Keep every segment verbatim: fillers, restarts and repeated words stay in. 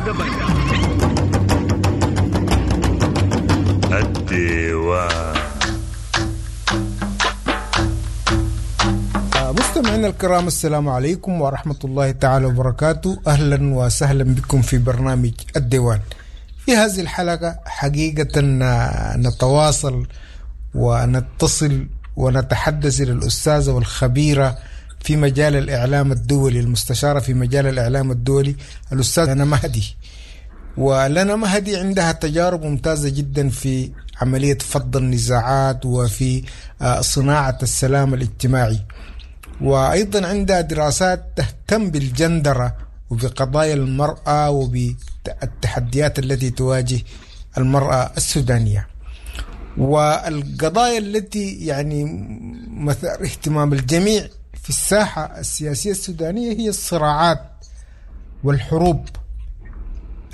دبنقا. الديوان. مستمعينا الكرام، السلام عليكم ورحمة الله تعالى وبركاته. أهلا وسهلا بكم في برنامج الديوان. في هذه الحلقة حقيقة نتواصل ونتصل ونتحدث إلى الأستاذة والخبيرة في مجال الإعلام الدولي، المستشارة في مجال الإعلام الدولي، الأستاذة لنا مهدي. ولنا مهدي عندها تجارب ممتازة جدا في عملية فض النزاعات وفي صناعة السلام الاجتماعي، وأيضا عندها دراسات تهتم بالجندرة وبقضايا المرأة وبالتحديات التي تواجه المرأة السودانية، والقضايا التي يعني مثار اهتمام الجميع في الساحة السياسية السودانية هي الصراعات والحروب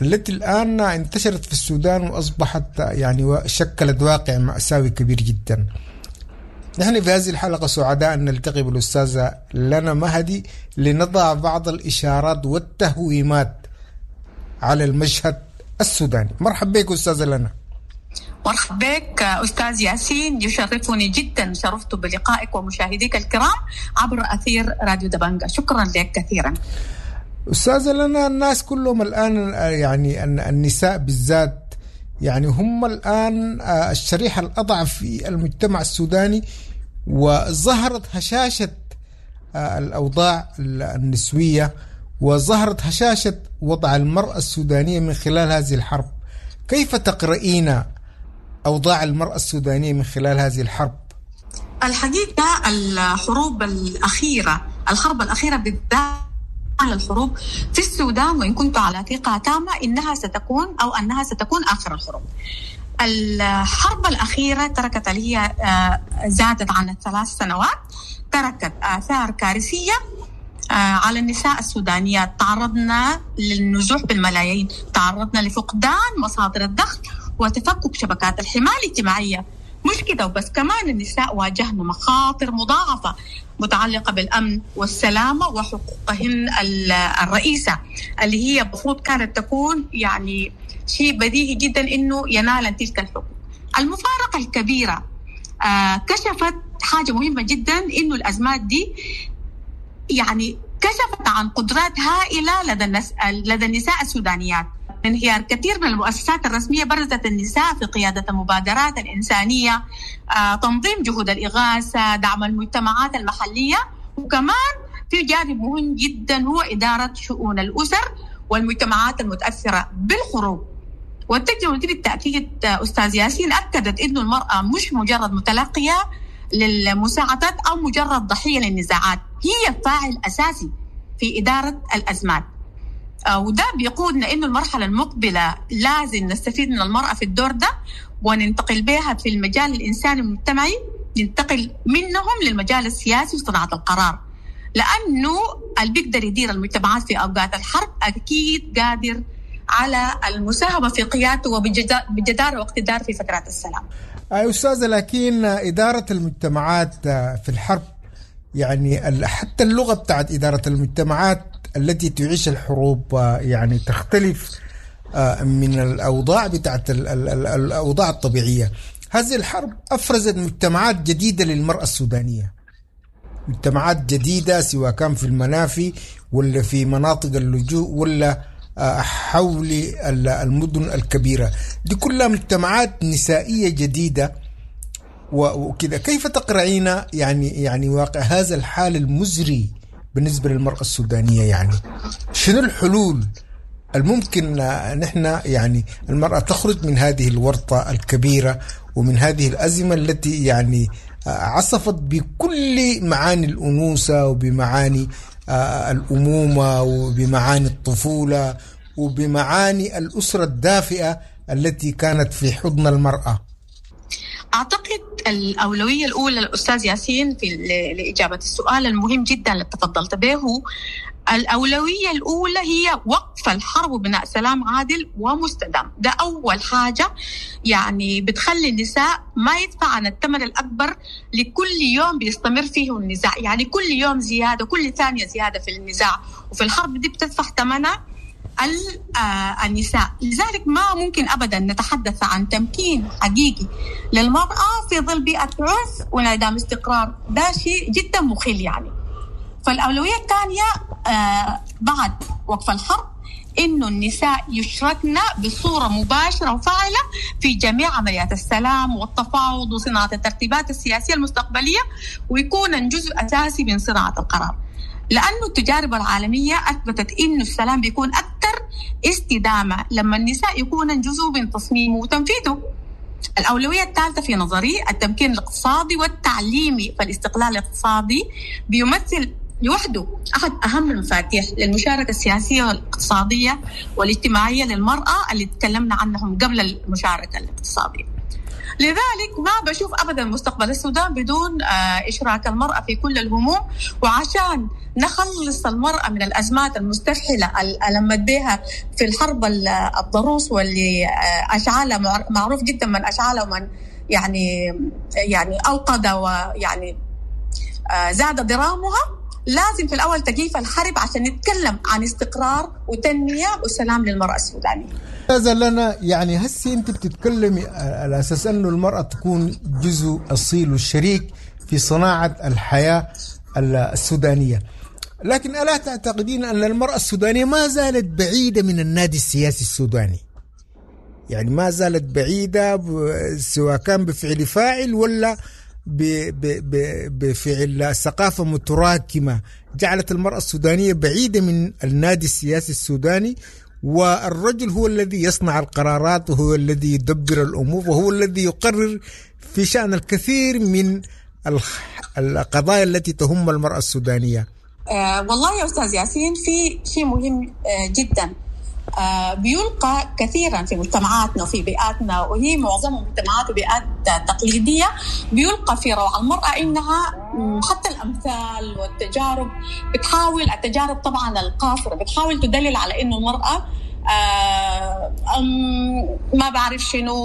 التي الآن انتشرت في السودان وأصبحت يعني شكلت واقع مأساوي كبير جدا. نحن في هذه الحلقة سعداء أن نلتقي بالأستاذة لنا مهدي لنضع بعض الإشارات والتهويمات على المشهد السوداني. مرحبا بك أستاذة لنا. مرحبا بك أستاذ ياسين، يشرفني جدا، شرفت بلقائك ومشاهديك الكرام عبر أثير راديو دبنجة. شكرا لك كثيرا أستاذة لنا. الناس كلهم الآن يعني النساء بالذات يعني هم الآن الشريحة الأضعف في المجتمع السوداني، وظهرت هشاشة الأوضاع النسوية وظهرت هشاشة وضع المرأة السودانية من خلال هذه الحرب. كيف تقرئين أوضاع المرأة السودانية من خلال هذه الحرب؟ الحقيقة الحروب الأخيرة، الحرب الأخيرة بالذات على الحروب في السودان، وإن كنت على ثقة تامة إنها ستكون أو أنها ستكون آخر الحروب. الحرب الأخيرة تركت اللي هي زادت عن الثلاث سنوات، تركت آثار كارثية على النساء السودانيات. تعرضنا للنزوح بالملايين، تعرضنا لفقدان مصادر الدخل وتفكك شبكات الحماية الاجتماعية. مش كده وبس، كمان النساء واجهن مخاطر مضاعفة متعلقة بالأمن والسلامة وحقوقهن الرئيسة اللي هي المفروض كانت تكون يعني شيء بديهي جدا إنه ينال تلك الحقوق. المفارقة الكبيرة آه كشفت حاجة مهمة جدا، إنه الأزمات دي يعني كشفت عن قدرات هائلة لدى النس... لدى النساء السودانيات. انهيار كثير من المؤسسات الرسمية برزت النساء في قيادة المبادرات الإنسانية، آه، تنظيم جهود الإغاثة، دعم المجتمعات المحلية، وكمان في جانب مهم جدا هو إدارة شؤون الأسر والمجتمعات المتأثرة بالحروب. والتجربة دي بالتأكيد أستاذ ياسين أكدت إنه المرأة مش مجرد متلقية للمساعدات أو مجرد ضحية للنزاعات، هي فاعل أساسي في إدارة الأزمات. وده بيقودنا إنه المرحلة المقبلة لازم نستفيد من المرأة في الدور ده وننتقل بها في المجال الإنساني المجتمعي، ننتقل منهم للمجال السياسي وصناعة القرار، لأنه اللي بيقدر يدير المجتمعات في أوقات الحرب أكيد قادر على المساهمة في قيادته وبجدارة واقتدار في فترات السلام. أي أستاذة، لكن إدارة المجتمعات في الحرب يعني حتى اللغة بتاعت إدارة المجتمعات التي تعيش الحروب يعني تختلف من الأوضاع بتاعت الأوضاع الطبيعية. هذه الحرب أفرزت مجتمعات جديدة للمرأة السودانية، مجتمعات جديدة سواء كان في المنافي ولا في مناطق اللجوء ولا حول المدن الكبيرة، دي كلها مجتمعات نسائية جديدة وكذا. كيف تقرأين يعني يعني واقع هذا الحال المزري بالنسبة للمرأة السودانية؟ يعني شنو الحلول الممكن نحن يعني المرأة تخرج من هذه الورطة الكبيرة ومن هذه الأزمة التي يعني عصفت بكل معاني الأنوثة وبمعاني الأمومة وبمعاني الطفولة وبمعاني الأسرة الدافئة التي كانت في حضن المرأة؟ أعتقد الأولوية الأولى الأستاذ ياسين في لإجابة السؤال المهم جدا اللي تفضلت به، الأولوية الأولى هي وقف الحرب وبناء سلام عادل ومستدام. ده أول حاجة يعني بتخلي النساء ما يدفع عن الثمن الأكبر لكل يوم بيستمر فيه النزاع، يعني كل يوم زيادة، كل ثانية زيادة في النزاع وفي الحرب دي بتدفع ثمنها النساء. لذلك ما ممكن أبدا نتحدث عن تمكين حقيقي للمرأة في ظل بيئة عنف وانعدام استقرار، ده شيء جدا مخل يعني. فالأولوية الثانية بعد وقف الحرب إنه النساء يشركن بصورة مباشرة وفاعلة في جميع عمليات السلام والتفاوض وصناعة الترتيبات السياسية المستقبلية، ويكون جزء أساسي من صناعة القرار، لأنه التجارب العالمية أثبتت إنه السلام بيكون أكثر استدامة لما النساء يكون جزء من تصميمه وتنفيذه. الأولوية الثالثة في نظري التمكين الاقتصادي والتعليمي، فالاستقلال الاقتصادي بيمثل لوحده أحد أهم المفاتيح للمشاركة السياسية والاقتصادية والاجتماعية للمرأة اللي تكلمنا عنهم قبل المشاركة الاقتصادية. لذلك ما بشوف أبدا مستقبل السودان بدون إشراك المرأة في كل الهموم، وعشان نخلص المرأة من الأزمات المستفحلة اللي ألمت بها في الحرب الضروس واللي أشعالها معروف جدا من أشعالها ومن يعني يعني أوقد ويعني زاد درامها، لازم في الأول تكييف الحرب عشان نتكلم عن استقرار وتنمية وسلام للمرأة السودانية. هذا لنا يعني هسي أنت بتتكلمي على أساس أنه المرأة تكون جزء أصيل والشريك في صناعة الحياة السودانية، لكن ألا تعتقدين أن المرأة السودانية ما زالت بعيدة من النادي السياسي السوداني؟ يعني ما زالت بعيدة سواء كان بفعل فاعل ولا بفعل ثقافة متراكمة جعلت المرأة السودانية بعيدة من النادي السياسي السوداني، والرجل هو الذي يصنع القرارات وهو الذي يدبر الأمور وهو الذي يقرر في شأن الكثير من القضايا التي تهم المرأة السودانية. آه والله يا أستاذ ياسين في شيء مهم آه جدا آه بيلقى كثيرا في مجتمعاتنا وفي بيئاتنا، وهي معظم مجتمعات وبيئات تقليدية، بيلقى في روع المرأة إنها حتى الأمثال والتجارب بتحاول، التجارب طبعا القاصرة بتحاول تدلل على إنه المرأة آه ما بعرف شنو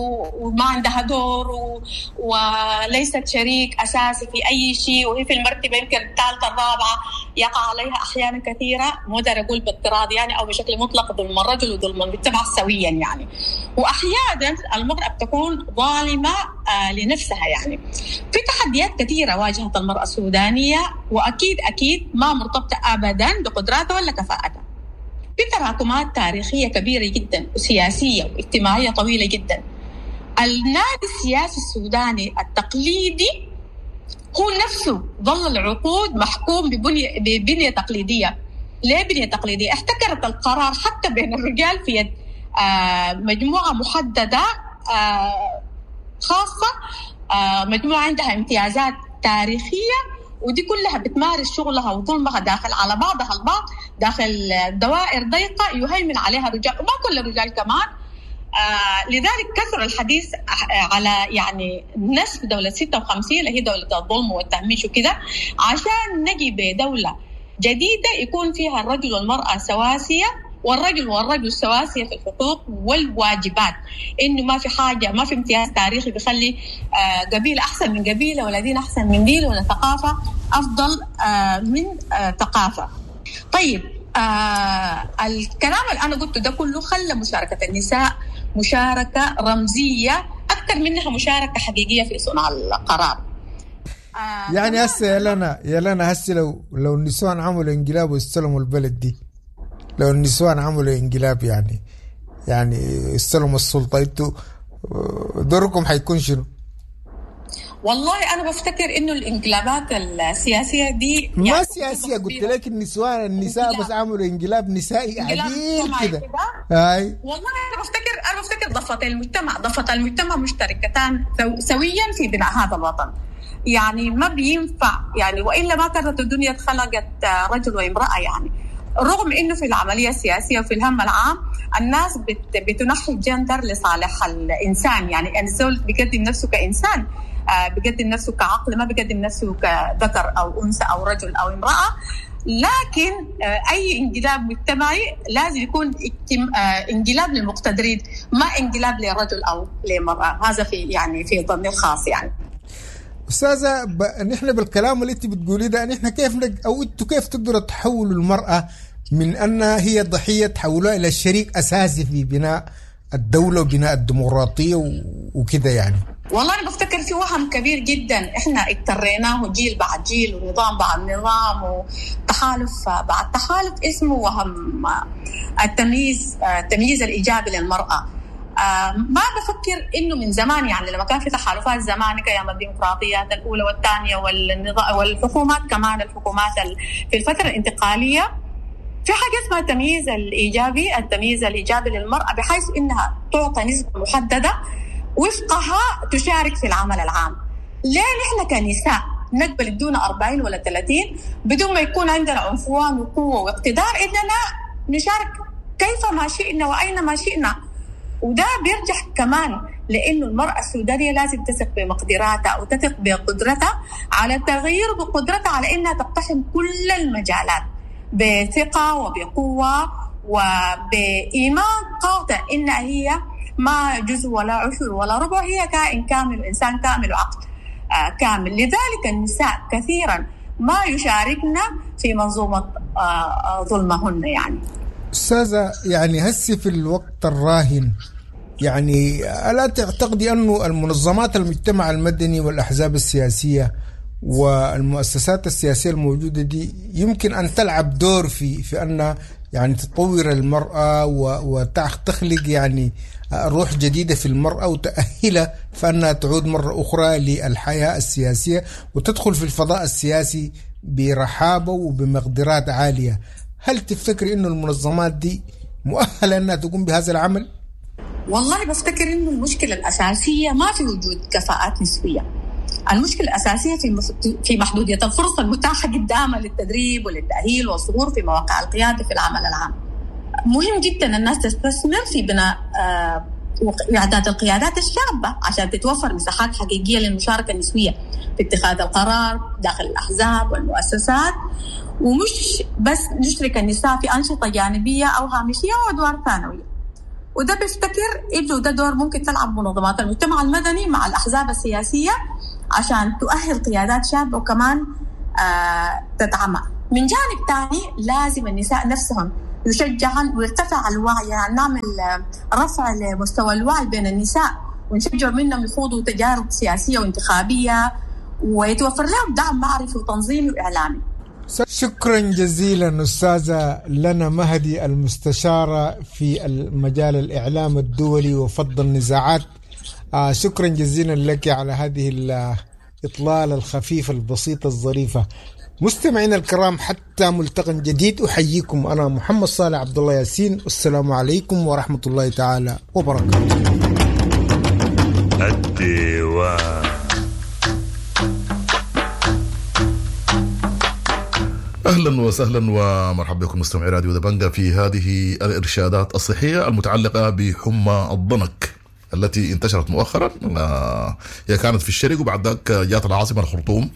وما عندها دور و... وليست شريك أساسي في أي شيء، وهي في المرتبة يمكن الثالثة الرابعة، يقع عليها أحيانا كثيرة، مو دار أقول باضطراد يعني أو بشكل مطلق ظلم الرجل وظلم المجتمع سويا يعني. وأحيانا المرأة بتكون ظالمة آه لنفسها يعني. في تحديات كثيرة واجهت المرأة السودانية، وأكيد أكيد ما مرتبطة أبدا بقدراتها ولا كفاءتها. في تراكمات تاريخية كبيرة جدا وسياسية واجتماعية طويلة جدا. النادي السياسي السوداني التقليدي هو نفسه ظل العقود محكوم ببنية, ببنية تقليدية. ليه بنية تقليدية؟ احتكرت القرار حتى بين الرجال في يد آه مجموعة محددة آه خاصة، آه مجموعة عندها امتيازات تاريخية، ودي كلها بتمارس شغلها وظلمها داخل على بعضها البعض داخل دوائر ضيقة يهيمن عليها الرجال، وما كل الرجال كمان. آه لذلك كثر الحديث على يعني نسب دولة ستة وخمسين اللي هي دولة الظلم والتهميش وكده، عشان نجي بدولة جديدة يكون فيها الرجل والمرأة سواسية، والرجل والرجل سواسية في الحقوق والواجبات، إنه ما في حاجة، ما في امتياز تاريخي بيخلي قبيلة أحسن من قبيلة ولا دين أحسن من دين ولا ثقافة أفضل من ثقافة. طيب الكلام اللي أنا قلته ده كله خلى مشاركة النساء مشاركة رمزية أكثر منها مشاركة حقيقية في صنع القرار. يعني هسه يا لنا يا لنا هسه لو لو النسوان عملوا انقلاب واستلموا البلد دي، لو النسوان عملوا انقلاب يعني يعني استلموا السلطة، انتوا دوركم حيكون شنو؟ والله أنا بفتكر إنه الانقلابات السياسية دي ما يعني سياسية، قلت لك النسوان النساء بس عملوا انقلاب نسائي عديل كده. هاي والله أنا بفتكر أنا بفتكر ضفتي المجتمع ضفة المجتمع مشتركتان سويا في بناء هذا الوطن. يعني ما بينفع يعني، وإلا ما كانت الدنيا اتخلقت رجل وامرأة يعني. رغم إنه في العملية السياسية وفي الهم العام الناس بت بتنحي الجندر لصالح الإنسان، يعني الزول بيقدم نفسه كإنسان، بيقدم نفسه كعقل، ما بيقدم نفسه كذكر أو أنثى أو رجل أو امرأة. لكن أي انقلاب مجتمعي لازم يكون انقلاب للمقتدرين، ما انقلاب لرجل أو لمرأة. هذا في يعني في ظني الخاص يعني. أستاذة ب... نحن بالكلام اللي أنت بتقوليه ده، نحن كيف نج... أو أنتوا كيف تقدروا تحولوا المرأة من أنها هي ضحية تحولها إلى شريك أساسي في بناء الدولة وبناء الديمقراطية وكده يعني؟ والله أنا بفتكر في وهم كبير جدا إحنا اضطريناه جيل بعد جيل ونظام بعد نظام وتحالف بعد تحالف، اسمه وهم التمييز، التمييز الإيجابي للمرأة. ما بفكر إنه من زمان، يعني لما كان في تحالفات زمان كأيام الديمقراطيات الأولى والثانية والنظام والحكومات كمان، الحكومات في الفترة الانتقالية في حاجة اسمها التمييز الإيجابي، التمييز الإيجابي للمرأة بحيث إنها تعطى نسبة محددة وفقها تشارك في العمل العام. ليه نحن كنساء نقبل دون أربعين ولا ثلاثين بدون ما يكون عندنا عنفوان وقوة واقتدار إننا نشارك كيفما شئنا وأينما شئنا؟ وده بيرجع كمان لأنه المرأة السودانية لازم تثق بمقدراتها وتثق بقدرتها على التغيير، بقدرتها على إنها تقتحم كل المجالات بثقة وبقوة وبإيمان قاطع إنها هي ما جزء ولا عشر ولا ربع، هي كائن كامل وإنسان كامل وعقل كامل. لذلك النساء كثيرا ما يشاركنا في منظومة ظلمهن. يعني أستاذة، يعني هسي في الوقت الراهن، يعني ألا تعتقدي أنه المنظمات المجتمع المدني والأحزاب السياسية والمؤسسات السياسية الموجودة دي يمكن أن تلعب دور في في أن يعني تطور المرأة وتخلق يعني روح جديدة في المرأة وتأهلها فأنها تعود مرة أخرى للحياة السياسية وتدخل في الفضاء السياسي برحابة وبمقدرات عالية؟ هل تفتكر إنه المنظمات دي مؤهلة أنها تقوم بهذا العمل؟ والله بفتكر إنه المشكلة الأساسية ما في وجود كفاءات نسوية. المشكلة الأساسية في في محدودية الفرص المتاحة قدامها للتدريب وللتأهيل والظهور في مواقع القيادة في العمل العام. مهم جدا الناس تستثمر في بناء إعداد القيادات الشابة عشان تتوفر مساحات حقيقية للمشاركة النسوية في اتخاذ القرار داخل الأحزاب والمؤسسات، ومش بس نشرك النساء في أنشطة جانبية أو هامشية وأدوار ثانوية. وده بفتكر إنه ده دور ممكن تلعب منظمات المجتمع المدني مع الأحزاب السياسية عشان تؤهل قيادات شابة وكمان آه تدعمها. من جانب تاني لازم النساء نفسهم يشجعن ويرتفع الوعي، يعني نعمل رفع لمستوى الوعي بين النساء ونشجع منهم يخوضوا تجارب سياسية وانتخابية ويتوفر لهم دعم معرفي وتنظيمي وإعلامي. شكرا جزيلا أستاذة لنا مهدي، المستشارة في المجال الإعلام الدولي وفض النزاعات. آه شكرا جزيلا لك على هذه الإطلالة الخفيفة البسيطة الظريفة. مستمعينا الكرام، حتى ملتقى جديد أحييكم أنا محمد صالح عبد الله ياسين، والسلام عليكم ورحمة الله تعالى وبركاته. الديوان. أهلا وسهلا ومرحبا بكم مستمعي راديو دبنجا في هذه الإرشادات الصحية المتعلقة بحمى الضنك التي انتشرت مؤخرا. هي كانت في الشرق وبعد ذاك جات العاصمة الخرطوم،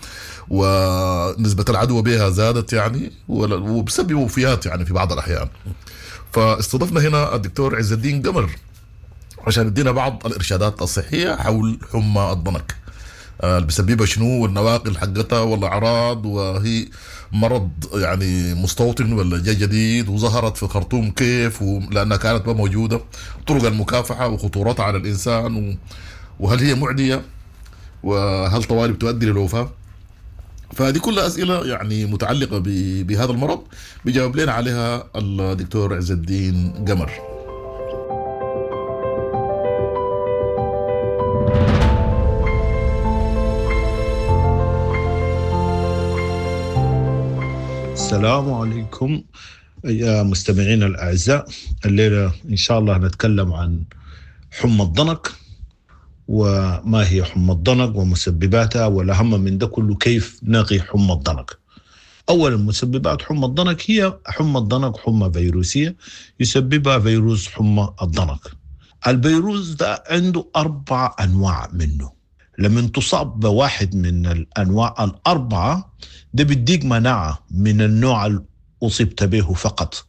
ونسبة العدوى بها زادت يعني وبسبب وفيات يعني في بعض الأحيان. فاستضفنا هنا الدكتور عز الدين قمر عشان يدينا بعض الإرشادات الصحية حول حمى الضنك، اللي بسببها شنو والنواقل حقتها والأعراض، وهي مرض يعني مستوطن ولا جاي جديد، وظهرت في الخرطوم كيف لأنها كانت ما موجودة، طرق المكافحة وخطورتها على الإنسان، و... وهل هي معدية، وهل طوالي بتؤدي للوفاة. فهذه كلها أسئلة يعني متعلقة ب... بهذا المرض بيجاوب لنا عليها الدكتور عز الدين قمر. السلام عليكم يا مستمعين الأعزاء. الليلة إن شاء الله نتكلم عن حمى الضنك، وما هي حمى الضنك ومسبباتها، والأهم من ده كله كيف نقي حمى الضنك. أولا، مسببات حمى الضنك هي حمى الضنك حمى فيروسية يسببها فيروس حمى الضنك. الفيروس ده عنده أربع أنواع منه، لما تصاب بواحد من الأنواع الأربعة ده بيديك مناعة من النوع اللي أصبت به فقط،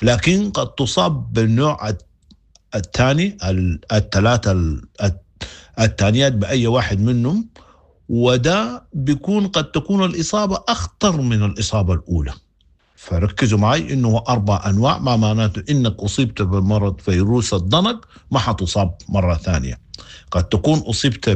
لكن قد تصاب بالنوع الثاني، الثلاثة الثانيات بأي واحد منهم، وده بيكون قد تكون الإصابة أخطر من الإصابة الأولى. فركزوا معي انه اربع انواع، ما معناته انك اصبت بمرض فيروس الضنك ما حتصاب مرة ثانية. قد تكون اصبت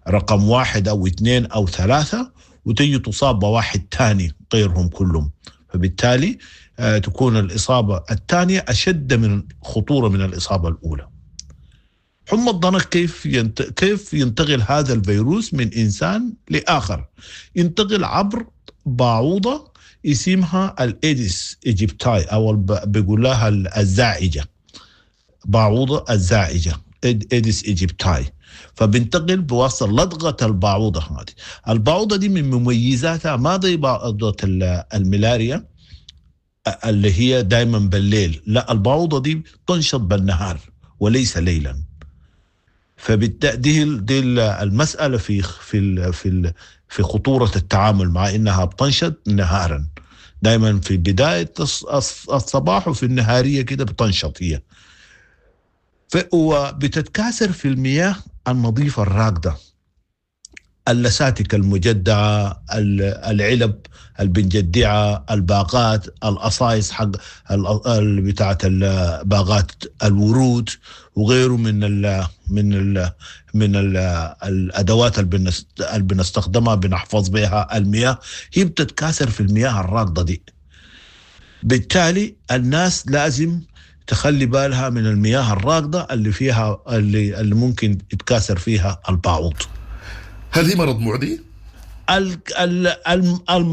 برقم واحد او اثنين او ثلاثة وتجي تصاب بواحد ثاني غيرهم كلهم، فبالتالي آه تكون الاصابة الثانية اشد من خطورة من الاصابة الاولى. حمى الضنك كيف ينت... كيف ينتقل هذا الفيروس من انسان لاخر؟ ينتقل عبر باعوضه اسمها ال Aedes aegypti او بيقول لها الزاعجه، باعوضه الزاعجه Aedes aegypti. فبنتقل بواسطة لدغه الباعوضه هذه. الباعوضه دي من مميزاتها ما زي باعوضه الملاريا اللي هي دائما بالليل، لا، الباعوضه دي تنشط بالنهار وليس ليلا. فبالتالي دي دي المسالة في في في في خطورة التعامل مع انها بتنشط نهارا، دائما في بداية الصباح وفي النهاريه كده بتنشط هي. وبتتكاثر في المياه النظيفة الراكده، اللساتك المجدعه، العلب البنجدعه، الباقات، القصايص حق بتاعه باغات الورود وغيره من ال من ال من ال الادوات اللي بنستخدمها بنحفظ بها المياه، هي بتتكاثر في المياه الراكده دي. بالتالي الناس لازم تخلي بالها من المياه الراكده اللي فيها اللي, اللي ممكن يتكاثر فيها الباعوض. هل هي مرض معدي؟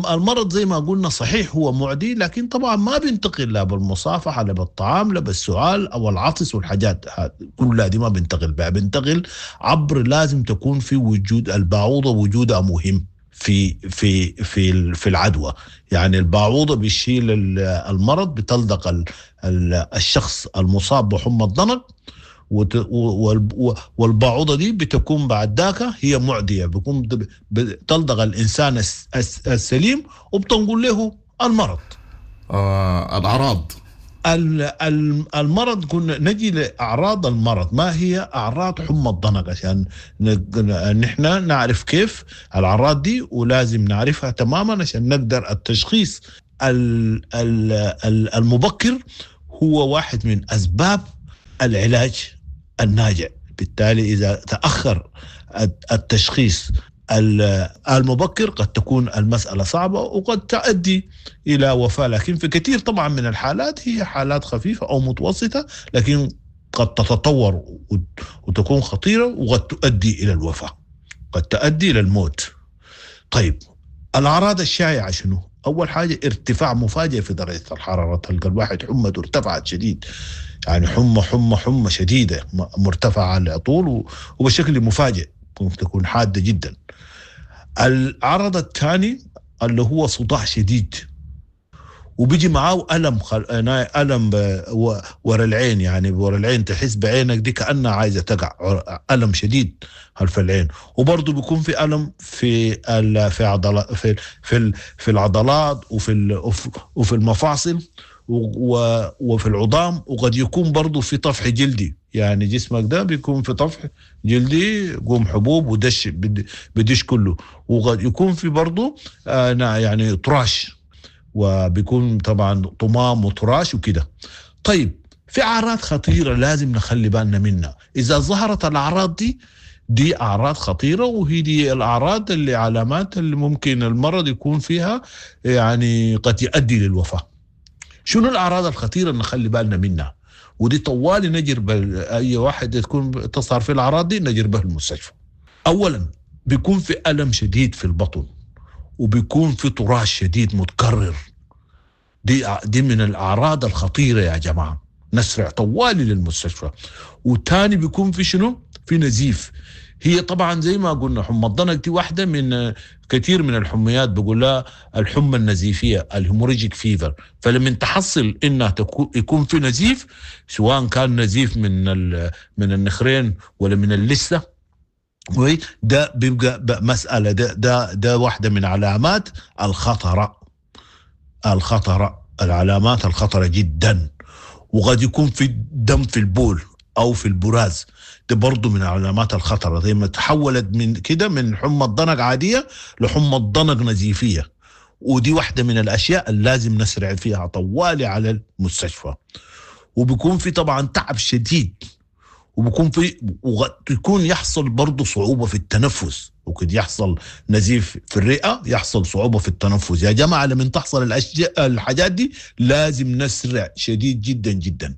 المرض زي ما قلنا صحيح هو معدي، لكن طبعا ما بينتقل لا بالمصافحه لا بالطعام لا بالسعال او العطس والحاجات كلها دي ما بينتقل بها. بينتقل عبر، لازم تكون في وجود الباعوضه، وجودها مهم في في في في العدوى. يعني الباعوضه بتشيل المرض، بتلدق الشخص المصاب بحمى الضنك، والباعوضه دي بتكون بعد ذاك هي معدية، بيكون بتلدغ الانسان السليم وبتنقل له المرض. آه الاعراض المرض، كنا نجي لاعراض المرض. ما هي اعراض حمى الضنك عشان نحن نعرف كيف الاعراض دي، ولازم نعرفها تماما عشان نقدر التشخيص المبكر هو واحد من اسباب العلاج الناجع. بالتالي إذا تأخر التشخيص المبكر قد تكون المسألة صعبة وقد تؤدي إلى وفاة، لكن في كثير طبعا من الحالات هي حالات خفيفة أو متوسطة، لكن قد تتطور وتكون خطيرة وقد تؤدي إلى الوفاة، قد تؤدي إلى الموت. طيب الأعراض الشائعة شنو؟ أول حاجة ارتفاع مفاجئ في درجة الحرارة، تلقى الواحد حمته ارتفعت شديد، يعني حمى حمى حمى شديدة مرتفعة على طول وبشكل مفاجئ، ممكن تكون حادة جدا. العرض الثاني اللي هو صداع شديد، وبيجي معاه ألم خل... ألم ب... ورا العين، يعني ورا العين تحس بعينك دي كأنها عايزة تقع، ألم شديد خلف العين. وبرضه بيكون في ألم في ال... في عضلات في في في العضلات وفي ال... وفي المفاصل و... وفي العظام، وقد يكون برضه في طفح جلدي، يعني جسمك ده بيكون في طفح جلدي، قوم حبوب ودش بدش كله، وقد يكون في برضه آه يعني طراش، وبيكون طبعا طمام وطراش وكده. طيب في أعراض خطيرة لازم نخلي بالنا منها، إذا ظهرت الأعراض دي دي أعراض خطيرة، وهي دي الأعراض اللي علامات اللي ممكن المرض يكون فيها يعني قد يؤدي للوفاة. شنو الأعراض الخطيرة اللي نخلي بالنا منها؟ ودي طوالي نجر أي واحد تكون تظهر في الأعراض دي نجر به المستشفى. أولا بيكون في ألم شديد في البطن، وبيكون في طراش شديد متكرر، دي دي من الأعراض الخطيرة يا جماعة، نسرع طوالي للمستشفى. وتاني بيكون في شنو؟ في نزيف. هي طبعا زي ما قلنا حمى الضنك دي واحدة من كثير من الحميات، بقول لها الحمى النزيفية ال hemorrhagic fever. فلما تحصل انها يكون في نزيف، سواء كان نزيف من من النخرين ولا من اللثة، ده بيبقى مسألة، ده ده ده واحدة من علامات الخطرة، الخطرة العلامات الخطرة جدا. وقد يكون في دم في البول أو في البراز، ده برضو من علامات الخطرة. زي ما تحولت من كده من حمى الضنك عادية لحمى الضنك نزيفية. ودي واحدة من الأشياء اللي لازم نسرع فيها طوالي على المستشفى. وبيكون في طبعا تعب شديد، وبيكون في ويكون يحصل برضه صعوبة في التنفس، وكد يحصل نزيف في الرئة، يحصل صعوبة في التنفس. يا جماعة لما تحصل الأشياء الحاجات دي لازم نسرع شديد جدا جدا.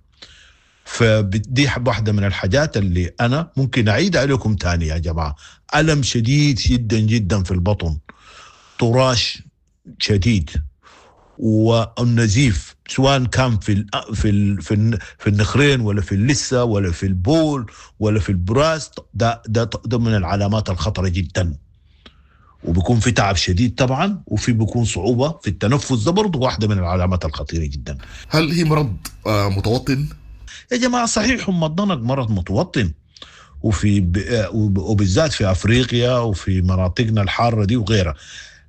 فدي واحدة من الحاجات اللي أنا ممكن أعيد عليكم تاني يا جماعة. ألم شديد جدا جدا في البطن، طراش شديد، والنزيف سواء كان في ال في ال في, ال في النخرين ولا في اللثة ولا في البول ولا في البراز، ده ده ده من العلامات الخطرة جدا. وبيكون في تعب شديد طبعا، وفي بيكون صعوبة في التنفس، ده برضه واحدة من العلامات الخطيرة جدا. هل هي مرض متوطن؟ يا جماعة صحيح حمى الضنك مرض متوطن، وفي وبالذات في افريقيا وفي مناطقنا الحارة دي وغيرها،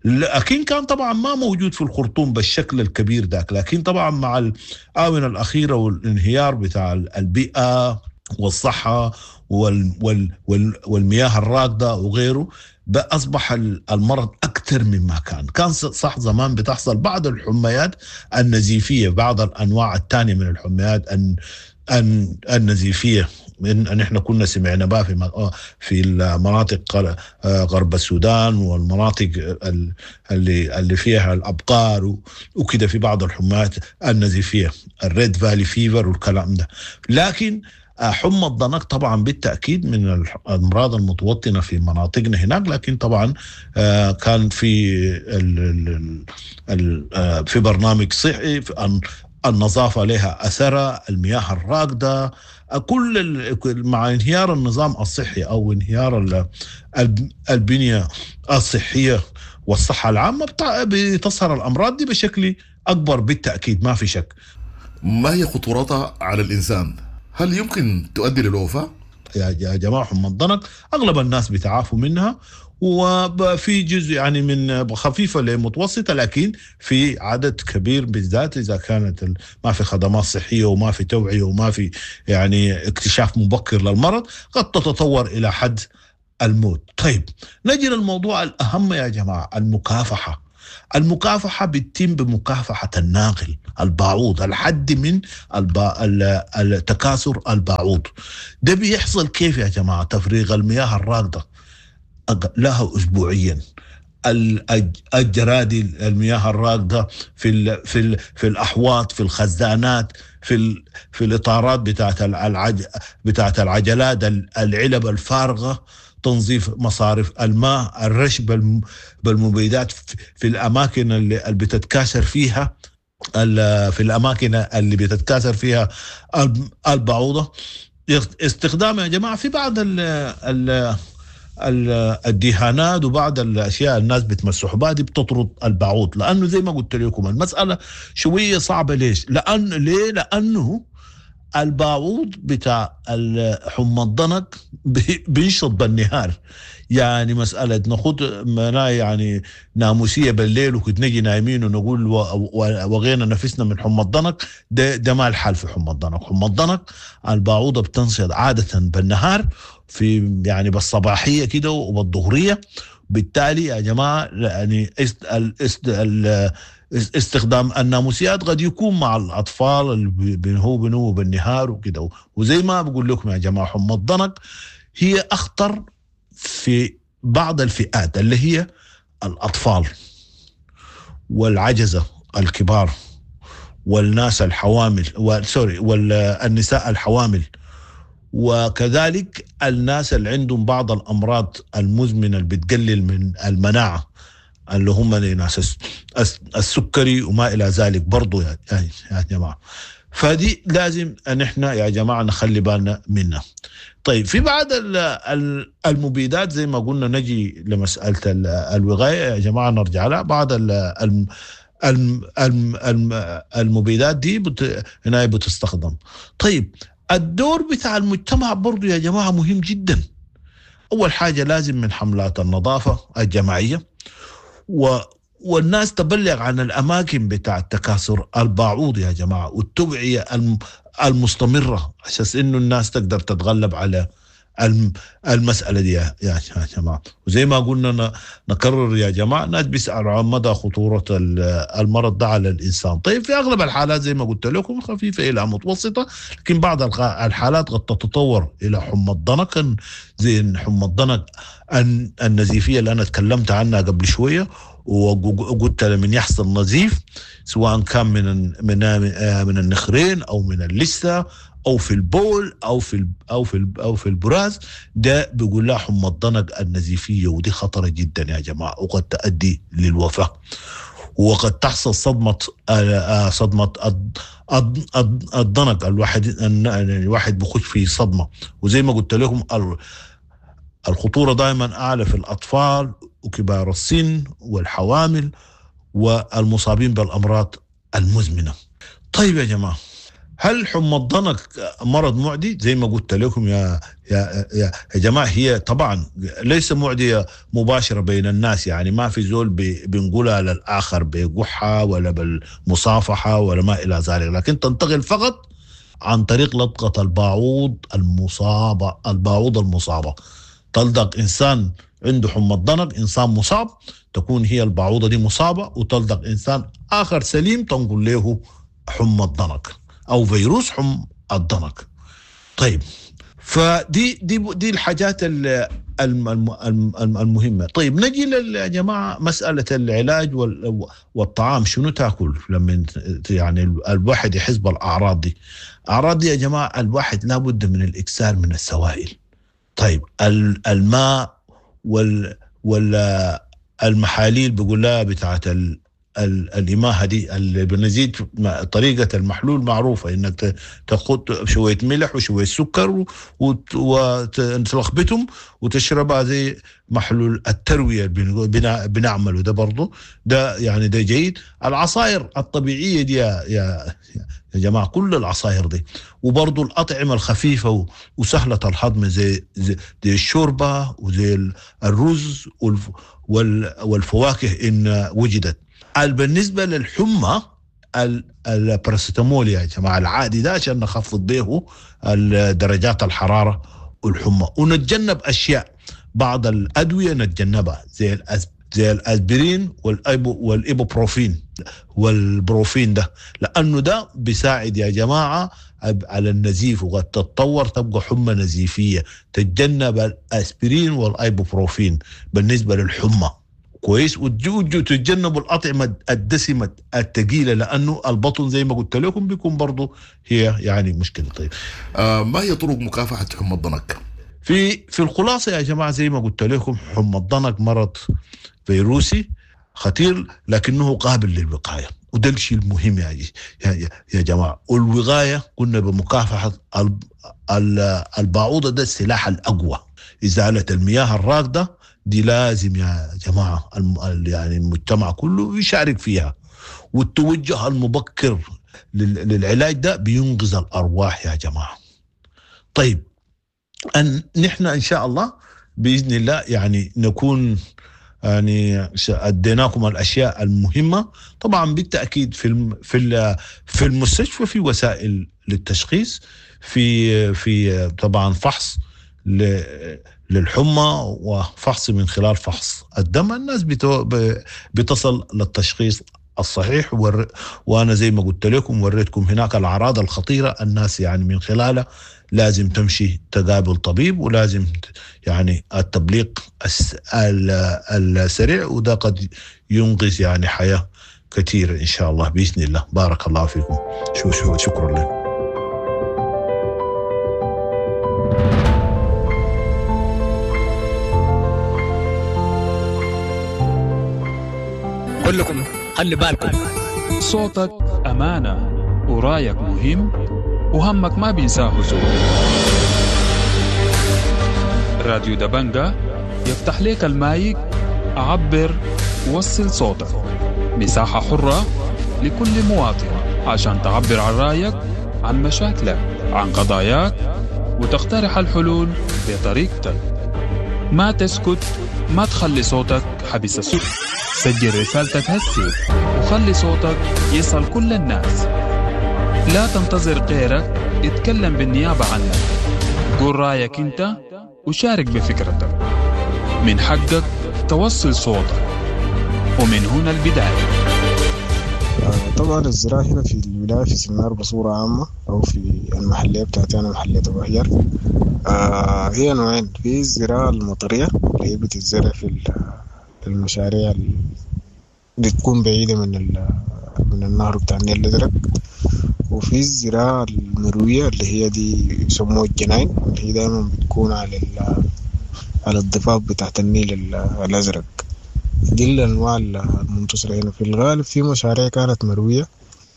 لكن كان طبعا ما موجود في الخرطوم بالشكل الكبير ذاك. لكن طبعا مع الآونة الأخيرة والانهيار بتاع البيئة والصحة وال وال وال والمياه الراكدة وغيره، أصبح المرض أكثر مما كان. كان صح زمان بتحصل بعض الحميات النزيفية، بعض الأنواع الثانية من الحميات النزيفية ان احنا كنا سمعنا بها في في المناطق غرب السودان والمناطق اللي اللي فيها الابقار وكده، في بعض الحمات النزيفيه ال Red Valley fever والكلام ده. لكن حمى الضنك طبعا بالتاكيد من الامراض المتوطنه في مناطقنا هناك، لكن طبعا كان في ال ال في برنامج صحي، النظافة لها اثرها، المياه الراكده، كل مع انهيار النظام الصحي او انهيار البنية الصحية والصحة العامة بتظهر الامراض دي بشكل اكبر بالتاكيد، ما في شك. ما هي خطورتها على الانسان؟ هل يمكن تؤدي للوفاه؟ يا جماعة حمى الضنك اغلب الناس بيتعافوا منها، وفي جزء يعني من خفيفة لمتوسطة، لكن في عدد كبير بالذات إذا كانت ما في خدمات صحية وما في توعية وما في يعني اكتشاف مبكر للمرض، قد تتطور إلى حد الموت. طيب نجي للموضوع الأهم يا جماعة، المكافحة. المكافحة بتتم بمكافحة الناقل البعوض، الحد من الب... التكاثر البعوض. ده بيحصل كيف يا جماعة؟ تفريغ المياه الراكدة لها أسبوعيا، الجرادي المياه الراكدة في ال في ال في الأحواض، في الخزانات، في ال في الإطارات بتاعت العج بتاعت العجلات، العلب الفارغة، تنظيف مصارف الماء، الرش بالمبيدات في الأماكن اللي بتتكاثر فيها في الأماكن اللي بتتكاثر فيها البعوضة. استخدام يا جماعة في بعض ال ال الدهانات وبعض الاشياء الناس بتمسحوا بها دي بتطرد البعوض، لانه زي ما قلت لكم المسالة شوية صعبة. ليش؟ لان ليه؟ لانه البعوض بتاع حمى الضنك بينشط بالنهار، يعني مسالة ناخد يعني ناموسيه بالليل وكنت نجي نايمين ونقول وغينا نفسنا من حمى الضنك، ده ده ما الحال في حمى الضنك. حمى الضنك البعوضة بتنشط عادة بالنهار، في يعني بالصباحيه كده وبالظهريه. بالتالي يا جماعة يعني استخدام الناموسيات قد يكون مع الاطفال اللي هو بنو بالنهار وكده. وزي ما بقول لكم يا جماعة حمى الضنك هي اخطر في بعض الفئات اللي هي الاطفال والعجزه الكبار والناس الحوامل، سوري، والنساء الحوامل، وكذلك الناس اللي عندهم بعض الأمراض المزمنة اللي بتقلل من المناعة اللي هم ناس السكري وما إلى ذلك برضو يا جماعة. فدي لازم أن احنا يا جماعة نخلي بالنا منها. طيب في بعض المبيدات زي ما قلنا، نجي لمسألة الوقاية يا جماعة نرجع لها. بعض المبيدات دي بت... هنا بتستخدم. طيب الدور بتاع المجتمع برضو يا جماعة مهم جدا. أول حاجة لازم من حملات النظافة الجماعية و... والناس تبلغ عن الأماكن بتاع تكاثر البعوض يا جماعة، والتوعية الم... المستمرة عشان إنه الناس تقدر تتغلب على المسألة دي يا جماعة. وزي ما قلنا نكرر يا جماعة، الناس بيسألوا عن مدى خطورة المرض ده على الإنسان. طيب في أغلب الحالات زي ما قلت لكم خفيفة إلى متوسطة، لكن بعض الحالات قد تتطور إلى حمى الضنك، زي حمى الضنك النزيفية اللي أنا تكلمت عنها قبل شوية، وقلت لمن يحصل نزيف سواء كان من من من النخرين أو من اللثة او في البول او في او في او في البراز، ده بيقول لها حمى الضنك النزيفيه، ودي خطره جدا يا جماعه وقد تؤدي للوفاه، وقد تحصل صدمه صدمه الضنك. الواحد الواحد بخش في صدمه، وزي ما قلت لكم الخطوره دائما اعلى في الاطفال وكبار السن والحوامل والمصابين بالامراض المزمنه. طيب يا جماعه، هل حمى الضنك مرض معدي؟ زي ما قلت لكم يا يا يا جماعه، هي طبعا ليس معديه مباشره بين الناس، يعني ما في زول بنقولها للاخر بقحه ولا بالمصافحه ولا ما الى ذلك، لكن تنتقل فقط عن طريق لدغه البعوض المصابه. البعوض المصابه تلدغ انسان عنده حمى الضنك، انسان مصاب، تكون هي البعوضه دي مصابه، وتلدغ انسان اخر سليم تنقل له حمى الضنك او فيروس حمى الضنك. طيب فدي دي دي الحاجات المهمه. طيب نجي يا جماعه مساله العلاج والطعام، شنو تاكل لما يعني الواحد يحس بالاعراض دي؟ اعراض دي يا جماعه الواحد لابد من الاكثار من السوائل. طيب الماء وال والمحاليل بيقول لها بتاعت الإماهة دي اللي بنزيد، طريقة المحلول معروفة إنك تاخد شوية ملح وشوية سكر وتلخبطهم وتشربها زي محلول التروية بنعمله ده برضو، ده يعني ده جيد. العصائر الطبيعية دي يا, يا, يا جماعة، كل العصائر دي، وبرضو الأطعمة الخفيفة وسهلة الهضم زي, زي, زي الشوربة وزي الرز والفواكه إن وجدت. بالنسبة للحمى الباراسيتامول يا جماعة العادي ده عشان نخفض به درجات الحرارة والحمى، ونتجنب أشياء، بعض الأدوية نتجنبها زي زي الأسبرين والأيبو والإيبوبروفين والبروفين ده، لأنه ده بيساعد يا جماعة على النزيف، وقد تتطور تبقى حمى نزيفية. تتجنب الأسبرين والإيبوبروفين بالنسبة للحمى كويس، وتتجنبوا الأطعمة الدسمة الثقيلة لأنه البطن زي ما قلت لكم بيكون برضو هي يعني مشكلة. طيب آه ما هي طرق مكافحة حمى الضنك؟ في في الخلاصة يا جماعة زي ما قلت لكم حمى الضنك مرض فيروسي خطير لكنه قابل للوقاية، وده الشيء المهم يا يا يا جماعة. والوقاية قلنا بمكافحة البعوضة، ده السلاح الأقوى. إزالة المياه الراكدة دي لازم يا جماعة يعني المجتمع كله يشارك فيها، والتوجه المبكر للعلاج ده بينقذ الأرواح يا جماعة. طيب أن نحن إن شاء الله بإذن الله يعني نكون يعني أديناكم الأشياء المهمة. طبعا بالتأكيد في في في المستشفى في وسائل للتشخيص، في في طبعا فحص للحمى وفحص من خلال فحص الدم، الناس بتصل للتشخيص الصحيح. ور... وأنا زي ما قلت لكم وريتكم هناك الأعراض الخطيرة، الناس يعني من خلالها لازم تمشي تقابل طبيب، ولازم يعني التبليغ الس... السريع، وده قد ينقذ يعني حياة كثيرة إن شاء الله بإذن الله. بارك الله فيكم، شو شو شكرا لكم. كلكم خلي بالكم، صوتك أمانة ورايك مهم وهمك ما بينساه زول. راديو دبنجة يفتح لك المايك، عبر وصل صوتك، مساحة حرة لكل مواطن عشان تعبر عن رأيك، عن مشاكلك، عن قضاياك، وتقترح الحلول بطريقتك. ما تسكت، ما تخلي صوتك حبس السوق. سجل رسالتك هسي وخلي صوتك يصل كل الناس. لا تنتظر غيرك يتكلم بالنيابة عنك. قول رايك انت وشارك بفكرتك، من حقك توصل صوتك، ومن هنا البداية. طبعا الزراعة هنا في الولاية في سنار بصورة عامة أو في المحلية بتاعتي أنا محلية أبو حجر، آه هي نوعين. في الزراعة المطرية اللي هي بتتزرع في المشاريع اللي بتكون بعيدة من من النهر بتاع النيل الأزرق، وفي الزراعة المروية اللي هي دي يسموها الجناين، اللي هي دايما بتكون على على الضفاف بتاعت النيل الأزرق. دي الأنواع المنتشرة هنا. في الغالب في مشاريع كانت مروية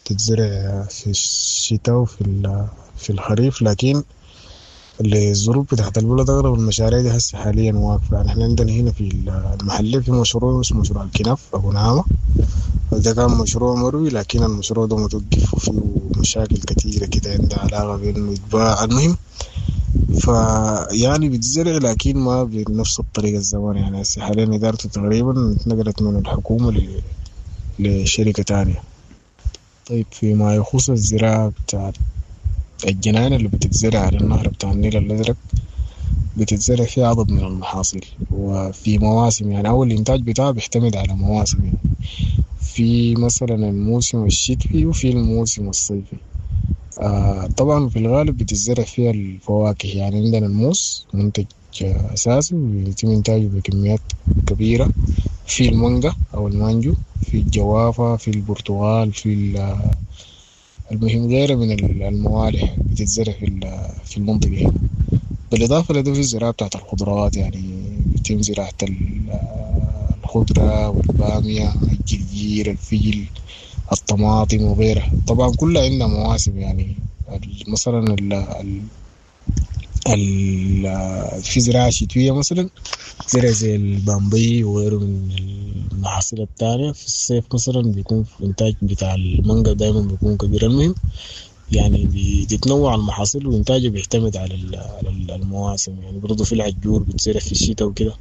تتزرع في الشتاء وفي في الخريف، لكن الظروف بتاعت البلد أغلب المشاريع دي هسه حاليا واقفة. يعني احنا عندنا هنا في المحلية في مشروع اسمه مشروع الكناف أبو نعامة، ده كان مشروع مروي، لكن المشروع ده متوقف وفيه مشاكل كثيرة كده عندها علاقة بإنه يتباع. المهم فيعني بتزرع لكن ما بنفس الطريقة الزمان. يعني هسه حاليا إدارته تقريبا اتنقلت من الحكومة ل... لشركة تانية. طيب فيما يخص الزراعة بتاعت الجنان اللي بتتزرع على النهر بتاع النيل الأزرق، بتتزرع فيها عدد من المحاصيل وفي مواسم. يعني أول الإنتاج بتاعه بيعتمد على مواسم، يعني في مثلا الموسم الشتوي وفي الموسم الصيفي. آه طبعا في الغالب بتتزرع فيها الفواكه. يعني عندنا الموز منتج أساسي وبيتم إنتاجه بكميات كبيرة، في المانجا أو المانجو، في الجوافة، في البرتقال، في المهم غيره من الموالح بتتزرع في في المنطقة هنا. بالإضافة لده في الزراعة بتاعت الخضروات، يعني بيتم زراعة الخضرة والبامية، الجرجير، الفجل، الطماطم وغيرها. طبعا كلها عندنا مواسم. يعني مثلا ال ال ال في زراعة شتوية مثلا زرع زي البامبي وغيره من المحاصيل التانية. في الصيف مثلا بيكون في إنتاج بتاع المانجا دايما بيكون كبير. المهم يعني بتتنوع المحاصيل وإنتاجه بيعتمد على المواسم. يعني برضه في العجور بتزرع في الشتاء وكده.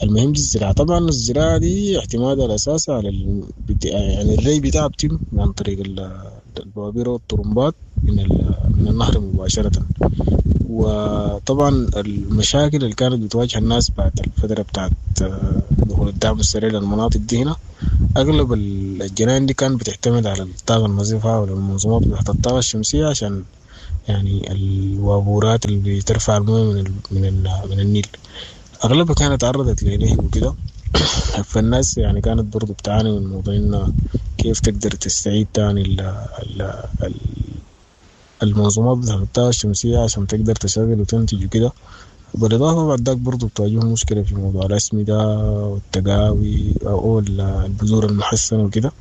المهم دي الزراعة. طبعا الزراعة دي اعتمادها الأساسي على ال... يعني الري بتاعها بتم عن طريق البوابير والطرمبات من ال... من النهر مباشرة. وطبعا المشاكل اللي كانت بتواجه الناس بعد الفترة بتاعت دخول الدعم السريع للمناطق دي هنا، أغلب الجنان دي كانت بتعتمد على الطاقة النظيفة والمنظومات بتاعت الطاقة الشمسية، عشان يعني الوابورات اللي بترفع الموية من ال... من ال... من النيل أغلبها كانت تعرضت لنهب وكده. فالناس يعني كانت برضو بتعاني من موضوع إنه كيف تقدر تستعيد تاني ال ال ال المنظومات بتاعت الطاقة الشمسية عشان تقدر تشغل وتنتج وكده. بالإضافة بعد ذاك برضو بتواجههم مشكلة في موضوع الأسمدة والتقاوي أو البذور المحسنة وكده.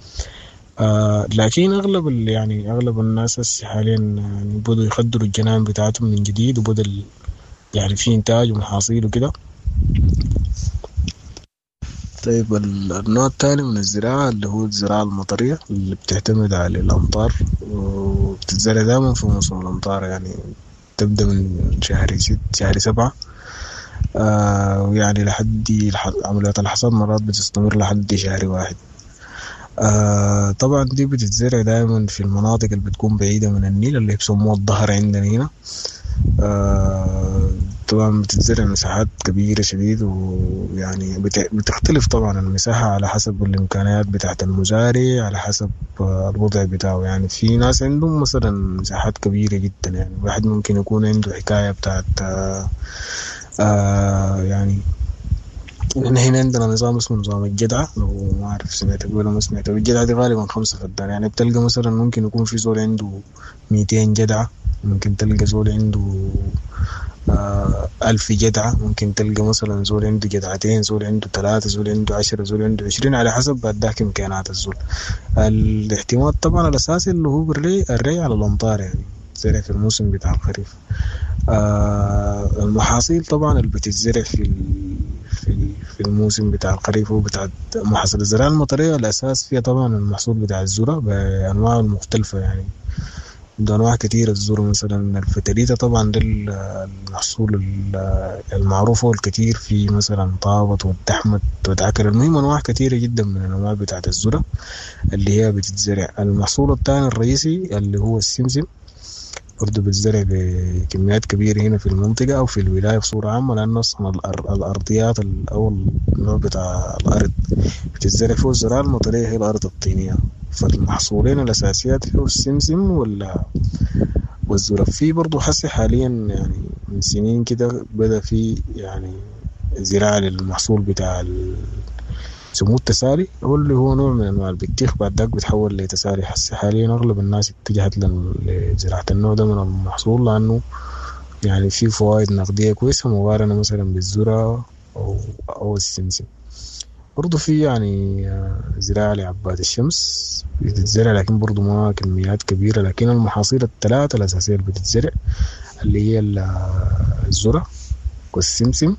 آه لكن أغلب يعني أغلب الناس حاليا يعني بدوا يخدروا الجنان بتاعتهم من جديد، وبدأ يعني في إنتاج ومحاصيل وكده. طيب النوع الثاني من الزراعة اللي هو الزراعة المطرية اللي بتعتمد على الأمطار وبتتزرع دائما في موسم الأمطار، يعني تبدأ من شهر ست شهر سبعة آه ويعني لحد عمليات الحصاد مرات بتستمر لحد شهر واحد. آه طبعا دي بتتزرع دائما في المناطق اللي بتكون بعيدة من النيل اللي بيسموها الظهر عندنا هنا. آه طبعا بتتزرع مساحات كبيرة شديد، ويعني بتختلف طبعا المساحة على حسب الإمكانيات بتاعت المزارع، على حسب الوضع بتاعه. يعني في ناس عندهم مثلا مساحات كبيرة جدا، يعني واحد ممكن يكون عنده حكاية بتاعت آه آه يعني احنا هنا عندنا نظام اسمه نظام الجدعة، لو ما أعرف سمعت ولا ما سمعت. الجدعة دي غالبا خمسة فدان، يعني بتلقى مثلا ممكن يكون في زول عنده ميتين جدعة، ممكن تلقى زول عنده آه ألف جدعة، ممكن تلقى مثلا زول عنده جدعتين، زول عنده ثلاثة، زول عنده عشرة، زول عنده عشرين، على حسب بعد ذاك إمكانيات الزول. الاعتماد طبعا الأساسي اللي هو بالري، الري على الأمطار، يعني زرع في الموسم بتاع الخريف. آه المحاصيل طبعا اللي بتتزرع في في في الموسم بتاع الخريف هو بتاع محاصيل الزراعة المطرية. الأساس فيها طبعا المحصول بتاع الذرة بأنواعه المختلفة، يعني عنده أنواع كتيرة الذرة. مثلا الفتريتة طبعا ده المحصول المعروف والكثير في مثلا طابت والدحمت والعكر. المهم أنواع كتيرة جدا من الأنواع بتاعت الذرة اللي هي بتتزرع. المحصول الثاني الرئيسي اللي هو السمسم، برضو بتزرع بكميات كبيرة هنا في المنطقة أو في الولاية بصورة عامة، لأنه أصلا الأرضيات أو النوع بتاع الأرض بتزرع فيه الزراعة المطرية هي الأرض الطينية. فالمحصولين الأساسيات فيه السمسم ولا والذرة. في برضو حسي حاليا يعني من سنين كده بدأ في يعني زراعة للمحصول بتاع سموه التسالي، هو اللي هو نوع من أنواع البطيخ بعد ذاك بيتحول لتسالي. حسي حاليا أغلب الناس اتجهت لزراعة النوع ده من المحصول، لأنه يعني فيه فوائد نقدية كويسة مقارنة مثلا بالذرة أو أو السمسم. برضو في يعني زراعة لعباد الشمس بتتزرع، لكن برضو ما كميات كبيرة. لكن المحاصيل الثلاثة الأساسية اللي بتتزرع اللي هي الذرة والسمسم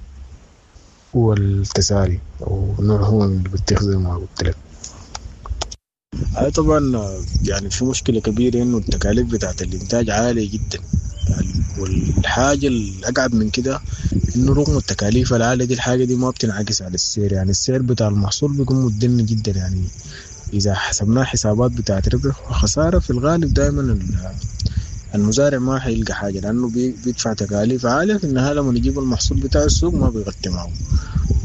والتسالي أو نوع هو من البطيخ زي ما قلت لك. هاي طبعا يعني في مشكلة كبيرة إنه التكاليف بتاعت الإنتاج عالية جدا، والحاجة الأقعد من كده إنه رغم التكاليف العالية دي الحاجة دي ما بتنعكس على السعر. يعني السعر بتاع المحصول بيكون متدني جدا، يعني إذا حسبناه حسابات بتاعت ربح وخسارة في الغالب دائما المزارع ما حيلقى حاجة، لأنه بيدفع تكاليف عالية في النهاية لما يجيب المحصول بتاع السوق ما بيغطي معه.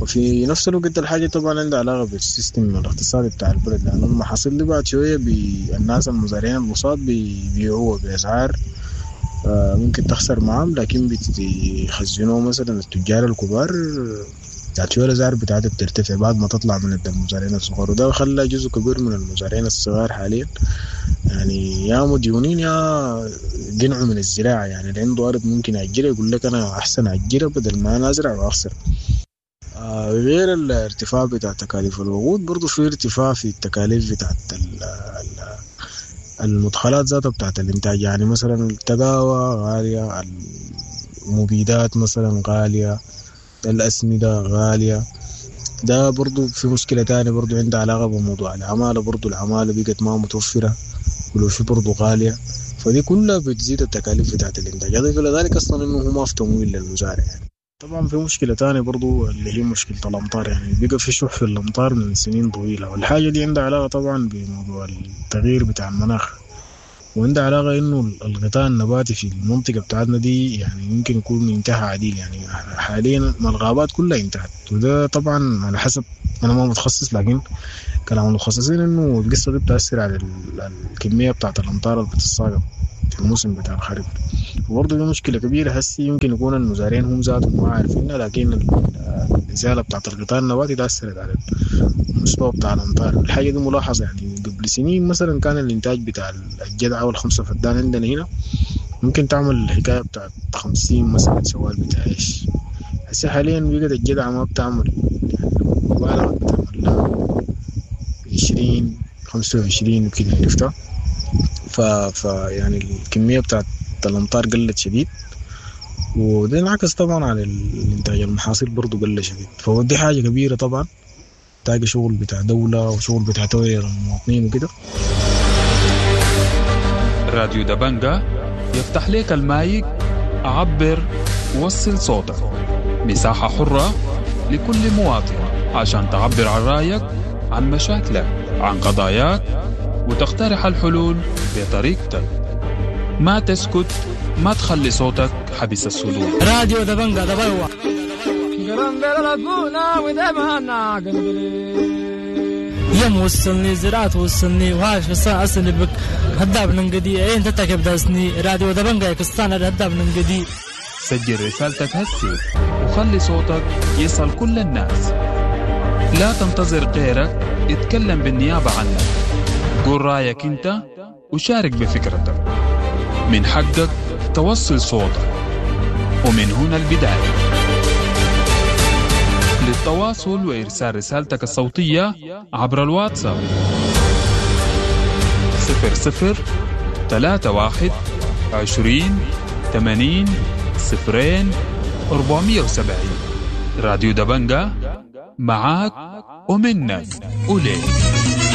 وفي نفس الوقت الحاجة طبعا عندها علاقة بال system الاقتصادي بتاع البلد، لأنه المحاصيل دي بعد شوية بي الناس المزارعين البساط بيبيعوها بأسعار ممكن تخسر معهم، لكن بيخزنوه مثلا التجار الكبار بعد شوية الأسعار بتاعتها بترتفع بعد ما تطلع من المزارعين الصغار، وده خلى جزء كبير من المزارعين الصغار حاليا يعني يا مديونين يا قنعوا من الزراعة. يعني اللي عنده أرض ممكن يأجرها يقول لك أنا أحسن أجرها بدل ما أنا أزرع وأخسر. آه غير الارتفاع بتاع تكاليف الوقود، برضو في ارتفاع في التكاليف بتاعت المدخلات ذاتها بتاعت الإنتاج. يعني مثلا التقاوى غالية، المبيدات مثلا غالية، الأسمدة غالية. ده برضو في مشكلة تانية برضو عندها علاقة بموضوع العمالة، برضو العمالة بقت ما متوفرة ولو في برضو غالية، فدي كلها بتزيد التكاليف بتاعت الإنتاج. أضيف إلى ذلك أصلا إنه هو ما في تمويل للمزارع. يعني طبعا في مشكلة تانية برضو اللي هي مشكلة الأمطار، يعني بقى في شح في الأمطار من سنين طويلة، والحاجة دي عندها علاقة طبعا بموضوع التغيير بتاع المناخ، وعندها علاقة إنه الغطاء النباتي في المنطقة بتاعتنا دي يعني يمكن يكون انتهى عديل. يعني حاليا ما الغابات كلها انتهت، وده طبعا على حسب، أنا ما متخصص لكن كلام المتخصصين إنه القصة دي بتأثر على الكمية بتاعت الأمطار اللي بتتساقط في الموسم بتاع الخريف. وبرضه دي مشكلة كبيرة هسي يمكن يكون المزارعين هم ذاتهم ما عارفينها، لكن الإزالة بتاعت الغطاء النباتي تأثرت على المستوى بتاع الأمطار. الحاجة دي ملاحظة، يعني قبل سنين مثلا كان الإنتاج بتاع الجدعة والخمسة فدان عندنا هنا ممكن تعمل الحكاية بتاعت خمسين مثلا شوال بتاع عيش. هسي حاليا بقت الجدعة ما بتعمل، يعني مبالغة بتعمل لها عشرين خمسة وعشرين وكده، عرفتها؟ ف... ف يعني الكمية بتاعت الأمطار قلت شديد، وده انعكس طبعا على الإنتاج المحاصيل برضو قل شديد. فودي حاجة كبيرة طبعا، تاجي شغل بتاع دولة وشغل بتاع توعية للمواطنين وكده. راديو دبنجة يفتح لك المايك، عبر وصل صوتك، مساحة حرة لكل مواطن عشان تعبر عن رأيك، عن مشاكلك، عن قضاياك، وتقترح الحلول بطريقتك. ما تسكت، ما تخلي صوتك حبس الصدور. راديو دبنجة دبلوة. يم وصلني زراعة وصلني وهاش بس أصلي بك هداب ننقدي إيه أنت تكب داسني راديو دبنجة كستان هداب ننقدي. سجل رسالتك هسي وخلي صوتك يصل كل الناس. لا تنتظر غيرك يتكلم بالنيابة عنك. قول رأيك أنت وشارك بفكرتك. من حقك توصل صوتك، ومن هنا البداية. للتواصل وإرسال رسالتك الصوتية عبر الواتساب صفر صفر ثلاثة واحد عشرين ثمانين صفرين أربعمية وسبعين. راديو دبنجة معاك ومنك وليك.